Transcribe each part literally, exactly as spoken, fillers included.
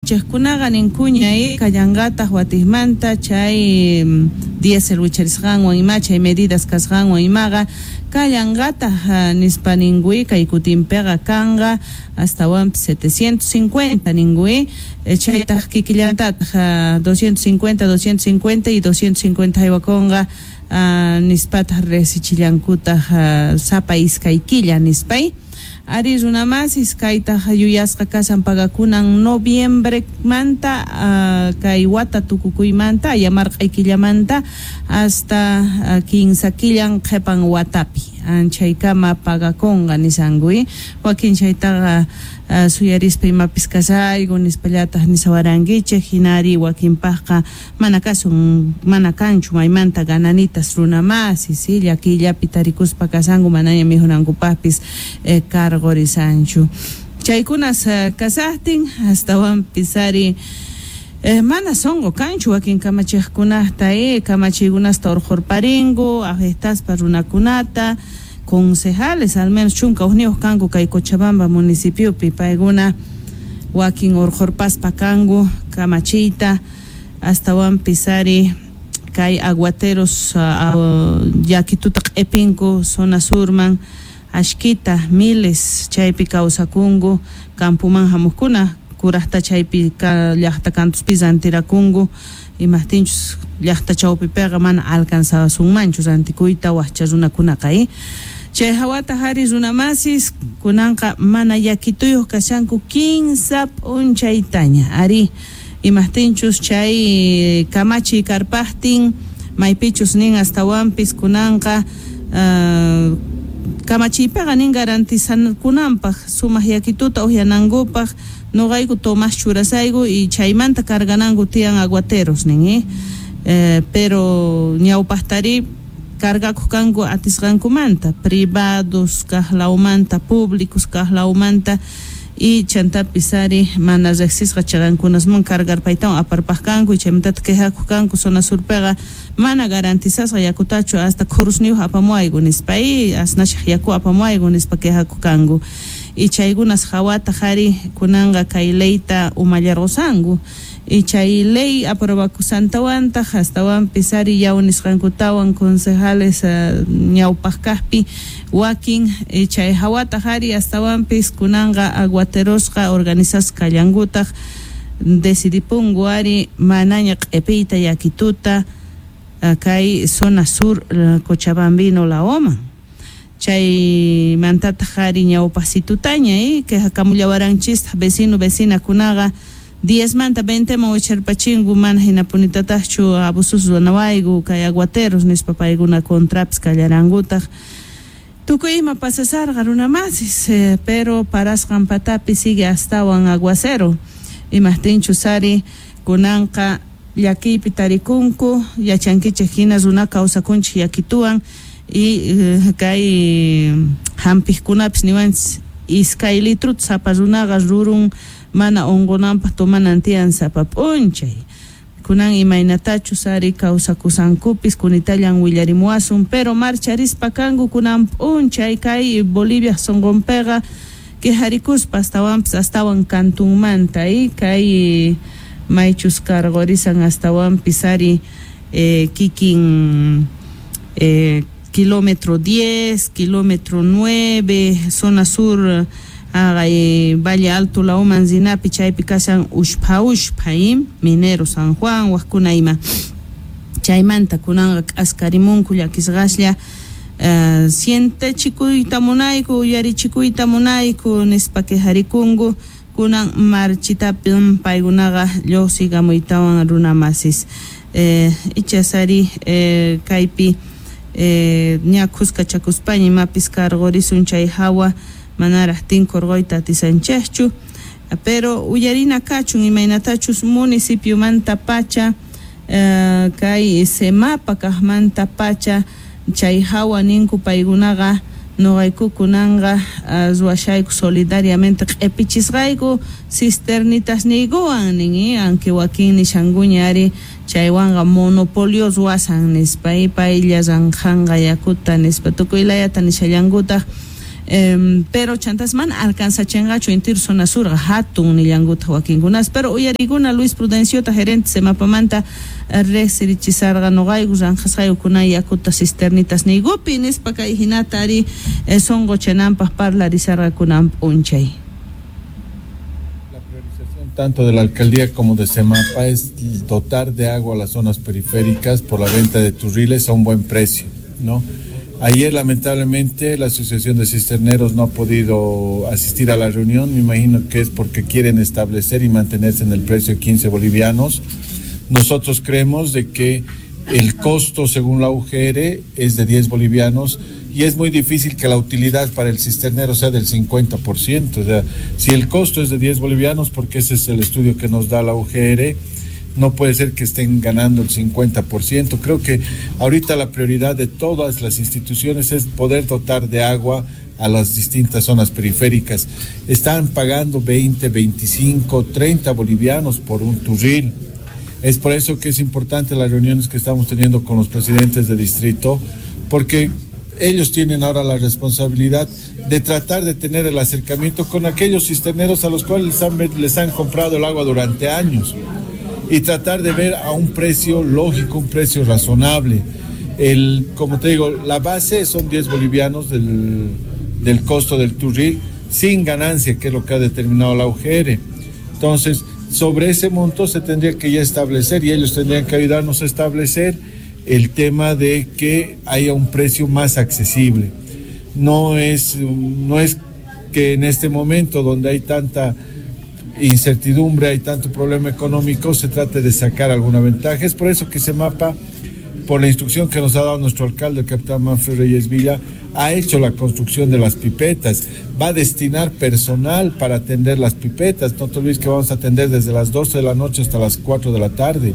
Kamachiqkunaqa ninkuña kallanqataq watiqmanta chay diésel wicharisqanwan ima chay medidas kasqanwan imaqa kallanqataq nispa ninkui kay kutinpiqa kanqa astawanpis setecientos cincuenta ninkui chaytaq kikillantataq doscientos cincuenta, doscientos cincuenta y doscientos cincuenta haywakunqa nispataq resichillankutaq sapa iskay killa nispay. Ari runamasis kaytaq yuyasqa kasan pagakunan noviembremanta uh, kay wata tukukuymanta ayamarq'ay killamanta hasta uh, kinsa killan qhipan watapi anchaykama pagakunqa nisankuy wakin chaytaqa uh, suyarispa imapis kasayku nispallataq nisawarankichik hinari wakinpaqqa mana kasun mana kanchu maymanta gananitas runamasis si llakillapi tarikuspa kasanku manaña mijunankupaqpis eh, karqurisanchu chaykunas uh, kasaqtin astawanpis ari Eh, mana songo kanchu wakin kamachiqkunata eh, kamachiykunasta urqurparinku afectaspa runakunata concejales al menos chunka hukniyuq kanku kay Cochabamba municipiopi paykuna wakin urqurpaspa kanku kamachiyta astawanpis ari kay aguateros uh, uh, llakituta q'ipinku zona surman ashkita miles chaypi kawsakunku campoman hamuqkuna kuraqta chaypi llaqta kantuspi rantirakunku imaqtinchus llaqta chawpipiqa mana alcanzasunmanchu rantikuyta waqcha runakunaqa eh chay hawata hari runamasis kunanqa mana llakituyuq kashanku kinsa p'unchaytaña ari imaqtinchus chay kamachiy karpaqtin maypichus nin astawanpis kunanqa uh, kamachiypiqa nin garantizankunanpaq sumaq llakituta uhyanankupaq noqayku Tomás churasayku y chaymanta cargananku tiyan aguateros nin eh? Eh, pero ñawpaqtari cargakuq kanku atisqankumanta privados kaqlawmanta públicos kaqlawmanta y chantapis ari mana riqsisqa chaqankunasman cargarpaytawan aparpaq kanku y chaymantataq quejakuq kanku zona surpiqa mana garantizasqa yakutachu hasta khurusniyuq apamuwayku nispa y asnashaq yaku apamuwayku nispa quejakuq kanku y chaykunas hawataq ari kunanqa kay leyta umallarqusanku y chay ley aprobakusantawantaq astawanpis ari yaw nisqankutawan concejales uh, ñawpaq kaqpi wakin y chay hawataq ari astawanpis kunanqa aguaterosqa organizasqa kallankutaq decidipunku ari manaña q'ipiyta llakituta uh, kay zona sur uh, Cochabambino laoman chay mantataq ari ñawpaqsitutaña eh quejakamullawaranchistaq vecino vecinakunaqa diez manta veinteman wicharpachinku mana hinapunitataqchu abusos ruwanawayku kay aguateros nispa paykuna contrapis kallarankutaq tukuy ima pasasarqa runamasis eh, pero parasqan patapi sigue astawan aguacero imaqtinchus ari kunanqa llakiypi tarikunku yachankichik hina runa kawsakunchik llakituwan y eh, kay hampiqkunapis niwanchis iskay litruta sapa runaqa rurun mana unqunanpaq tomanan tiyan sapa p'unchay kunan imaynatachus ari kawsakusankupis kunitallan willarimuwasun pero marcharispa kanku kunan p'unchay kay Bolivia sunqunpiqa quejarikuspa astawanpis astawan kantunmanta y kay maychus karqurisan astawanpis ari eh, kikin eh, kilómetro diez, kilómetro nueve, zona sur agay Valle Alto lauman zinapi chaypi kashan ushpha ushpha minero San Juan waqkuna ima chaymanta kunanqa k'askarimunku llakisqaslla uh, sientechikuyta munayku uyarichikuyta munayku nispa quejarikunku kunan marchitapi paykunaqa lluqsikamuytawan runamasis eh, ichasari eh, kaypi eh, ña khuskachakuspaña imapis karqurisun chay hawa manaraq tinkurquyta atisanchikchu pero uyarina kachun imaynatachus municipiomanta pacha eh, kay semapa kaqmanta pacha chay hawa ninku paykunaqa noqayku kunanqa uh, ruwashayku solidariamente q'ipichisqayku cisternitasniykuwan nin eh, aunque wakin nishankuña ari chaywanqa monopolio ruwasan nispa paylla ranqanqa yakuta nispa tukuy layata nishallankutaq Eh, pero chantas mana alcanzachenqachu intir zona surqa hatun nillankuta wakinkunas pero uyarikuna Luis Prudenciota gerente Semapamanta riqsirichisarqa noqayku ranqasqayku kunan yakuta cisternitas niykupi nispa kay hinata ari eh, sonqochananpaq parlarisarqa kunan p'unchay. La priorización tanto de la alcaldía como de Semapa es dotar de agua a las zonas periféricas por la venta de turriles a un buen precio, ¿no? Ayer, lamentablemente, la Asociación de Cisterneros no ha podido asistir a la reunión. Me imagino que es porque quieren establecer y mantenerse en el precio de quince bolivianos. Nosotros creemos de que el costo, según la U G R, es de diez bolivianos y es muy difícil que la utilidad para el cisternero sea del cincuenta por ciento. O sea, si el costo es de diez bolivianos, porque ese es el estudio que nos da la U G R, no puede ser que estén ganando el cincuenta por ciento. Creo que ahorita la prioridad de todas las instituciones es poder dotar de agua a las distintas zonas periféricas. Están pagando veinte, veinticinco, treinta bolivianos por un turril. Es por eso que es importante las reuniones que estamos teniendo con los presidentes de distrito, porque ellos tienen ahora la responsabilidad de tratar de tener el acercamiento con aquellos cisterneros a los cuales les han, les han comprado el agua durante años y tratar de ver a un precio lógico, un precio razonable. El, como te digo, la base son diez bolivianos del, del costo del turril, sin ganancia, que es lo que ha determinado la U G R. Entonces, sobre ese monto se tendría que ya establecer, y ellos tendrían que ayudarnos a establecer el tema de que haya un precio más accesible. No es, no es que en este momento donde hay tanta incertidumbre, hay tanto problema económico, se trate de sacar alguna ventaja. Es por eso que Semapa, por la instrucción que nos ha dado nuestro alcalde, el capitán Manfred Reyes Villa, ha hecho la construcción de las pipetas, va a destinar personal para atender las pipetas. No te olvides que vamos a atender desde las doce de la noche hasta las cuatro de la tarde.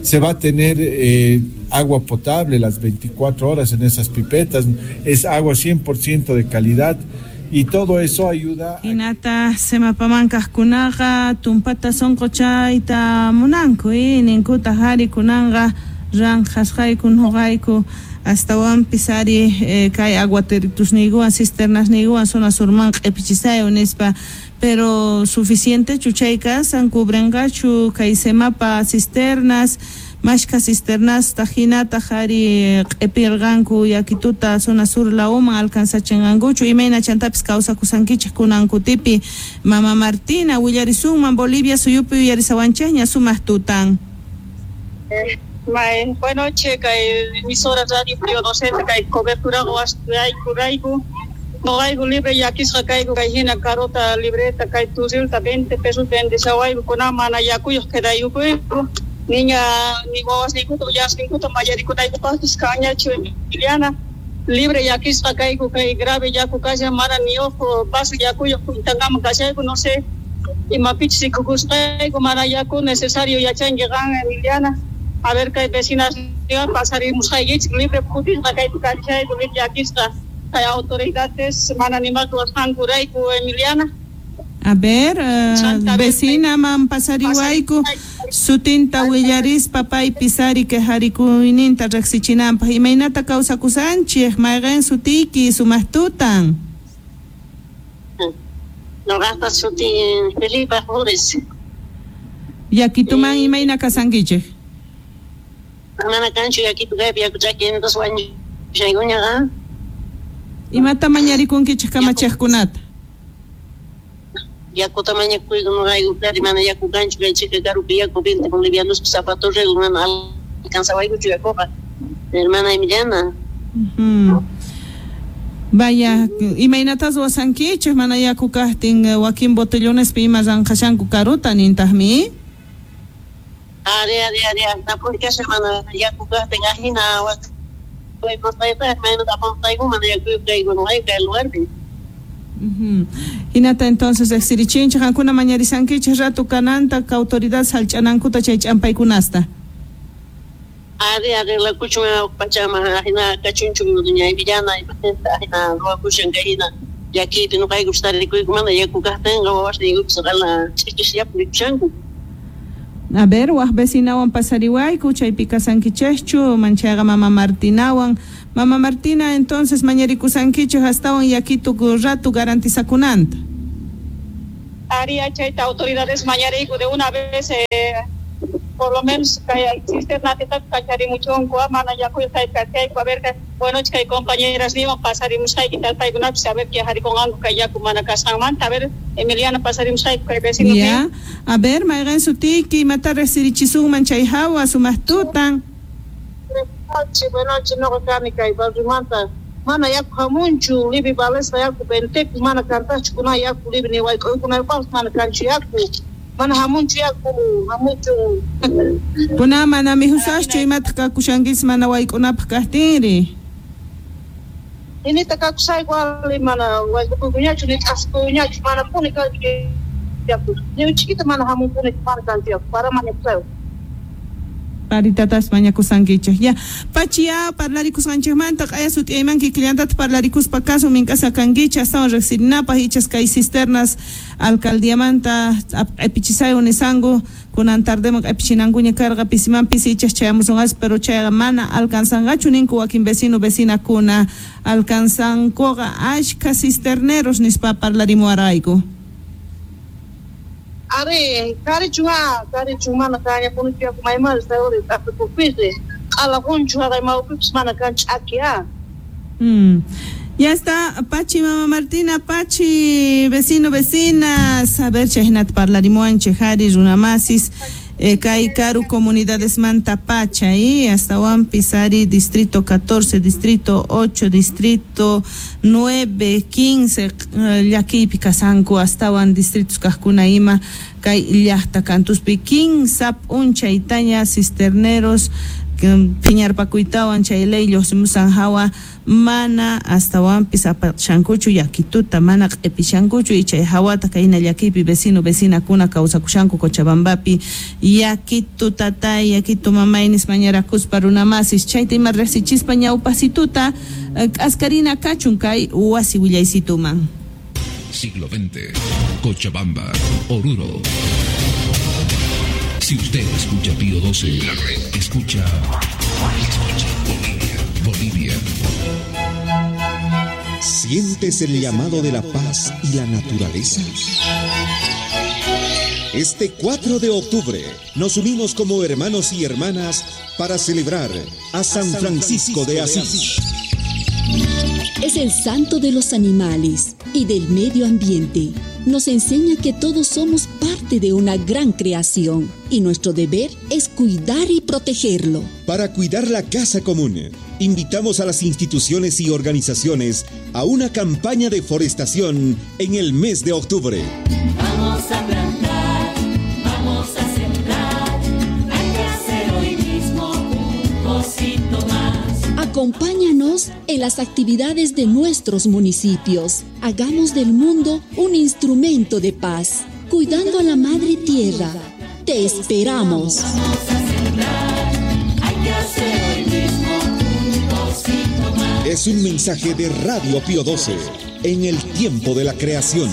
Se va a tener eh, agua potable las veinticuatro horas en esas pipetas, es agua cien por ciento de calidad. Y todo eso ayuda. Hinata Semapaman kaqkunaqa tumpata sonqochayta munanku, eh, ninkuta hari kunanqa ranqasqayku nuqayku astawanpis ari eh, kay aguateritusniykuwan cisternasniykuwan zona surman q'ipichisayo nispa, pero suficiente chuchay kasan cubrenqachu kay Semapa cisternas mashka cisternas tajinata hari q'ipirqanku yakituta zona sur lawman alcanzachinqankuchu imayna chantapis kawsakusankichik kunankutipi. Mama Martina willarisunman Bolivia suyupi uyarisawanchikña sumaq tutan. Eh, may, buenas noches, kay emisora radio Prio docente kay cobertura rayku noqayku libre yakisqa kayku kay hina carota libreta kay turrilta veinte pesos vendeshawayku kunan mana yakuyuq quedayukuyku. Niña, ni wawas ninkuta uyasninkuta mayarikunaykupaqpis kanñachu Emiliana libre yakisqa kayku kay grave yaku kashan mana ni ojo vaso yakuyuq kuntankama kashayku no sé imapichus rikukusqayku mana yaku necesario yachanki qan Emiliana. A ver kay vecinas pasarimusqaykichik libre putisqa kaypi kashayku libre yakisqa kay autoridades mana nimata ruwasqankurayku Emiliana. A ver, uh, vecina man pasariwayku sutinta willarispa paypis ari quejarikuyninta riqsichinanpaq imaynata kawsakusanchik mayqin sutiyki sumaq tutan. Noqaqta sutin Felipa Flores. Yakituman imayna kasankichik? Mana kanchu yakitu kaypi yaku chaki entonces wañushaykuñaqa. Imata mañarikunkichik kamachiqkunata? Yakuta mañakuyku noqayku kari mana yaku kanchu kay chika karupi yaku veinte bolivianos zapatorrego mana alcanzawaykuchu yakuqa hermana Emiliana. Uh-huh. Vaya, imaynatas ruwasankichik mana yaku kaqtin wakin botellonespi ima ranqashanku karuta nintaqmi? Ari ari ari tapun kasha mana yaku kaqtin ajina mana yaku kayku noqayku kay lugarpi. Uh-huh. Hinata entonces riqsirichinchik qankuna mañarisankichik rato kananta autoridad sallch'anankuta chay ch'ampaykunasta. Ari arreglakuchun pachama ajina kachunchu doña Emiliana ajina ruwakushan kay hina llakiypi noqayku tarikuyku mana yaku kaqtinqa wawasniykupis qala ch'ikisllapi rikushanku. A ver, waj vecinawan pasariwayku, chaypi kasankichejchu, manchayqa mama Martinawan. Mama Martina, entonces mañarikusankichej astawan yakitu rato garantizakunanta. Aria chayta autoridades mañariku de una vez, eh, por lo menos kay cisterna kacharimuchunku, mana yaku kay kachayku, a ver, bueno, kay compañeras niwan pasarimusqayki tal paykunapis, a ver qué harikunqanku kay yaku mana kasqanmanta, a ver, Emiliana pasarimusqayku kay vecino. Ya, a ver, mayqin sutiyki, imata riqsirichisunman chay hawa sumaq tutan. Buenas noches, noqa kani kay barriomanta. Mana yaku hamunchu, libi balesqa yaku ventepi, mana kantachu kuna yaku libi ni wayk'uykunapaqpas mana kanchu yaku. Mana hamunchu yaku, hamunchu. Kuna mana mijusaschu imataq kakushankis mana wayk'unapaq kaqtinri. Inita kakusayku ali mana wayk'uykuñachu ni ch'askuyñachu, mana puni kanchu yaku. Ni chiquita mana hamunpuni mana kanchu yaku, para mañakusayku. Paritatas mañakusankichej. Ya, pachiya parlarikusqanchejmanta q'aya sut'iyayman kikillantata parlarikuspa kasun mink'asqa kankichej astawan riqsirinapaq ichas kay cisternas alcaldiamanta q'ipichisaywan nisanku kunan tardeman q'ipichinankuña karqa pisimanpis ichas chayamusunqas, pero chayqa mana alcanzanqachu ninku wakin vecino vecinakuna alcanzankuqa ashka cisterneros nispa parlarimuwarqayku. Ari, karichunga, karichun mana kañapunichu yaku maymal sayuri t'apikupisi, q'alaqunchu haqay mawpipis mana kanchu ch'aki. Mm. Ya está, Pachi, mamá Martina, Pachi, vecino, vecinas, a ver, chaynata parlarimuwanchej hari runamasis, eh, kay karu comunidades manta pacha, y hasta Pisari, distrito catorce, distrito ocho, distrito nueve, quince, llakiypi kasanku, astawan distritos kajkuna ima, kay llaqta kantuspi, kinsa p'unchaytaña cisterneros, phiñarpakuytawan chay ley lluqsimusan hawa mana astawanpis apashankuchu yakituta mana q'ipishankuchu y chay hawata kayna llakiypi vecino vecinakuna kawsakushanku Cochabambapi yakitu tatay yakitu mamay nispa mañarakuspa runamasis chayta ima riqsichispa ñawpasituta k'askarina kachun kay wasi willaysituman. Siglo veinte, Cochabamba, Oruro. Si usted escucha Pío doce, la red escucha, escucha Bolivia, Bolivia. ¿Sientes el llamado de la paz y la naturaleza? Este cuatro de octubre nos unimos como hermanos y hermanas para celebrar a San Francisco de Asís. Es el santo de los animales y del medio ambiente. Nos enseña que todos somos parte de una gran creación y nuestro deber es cuidar y protegerlo. Para cuidar la casa común, invitamos a las instituciones y organizaciones a una campaña de forestación en el mes de octubre. Vamos a plantar, vamos a sembrar, hay que hacer hoy mismo un pocito más. Acompáñanos en las actividades de nuestros municipios. Hagamos del mundo un instrumento de paz, cuidando a la madre tierra. Te esperamos. Vamos a sembrar, hay que hacer hoy mismo un pocito más. Es un mensaje de Radio Pío doce, en el tiempo de la creación.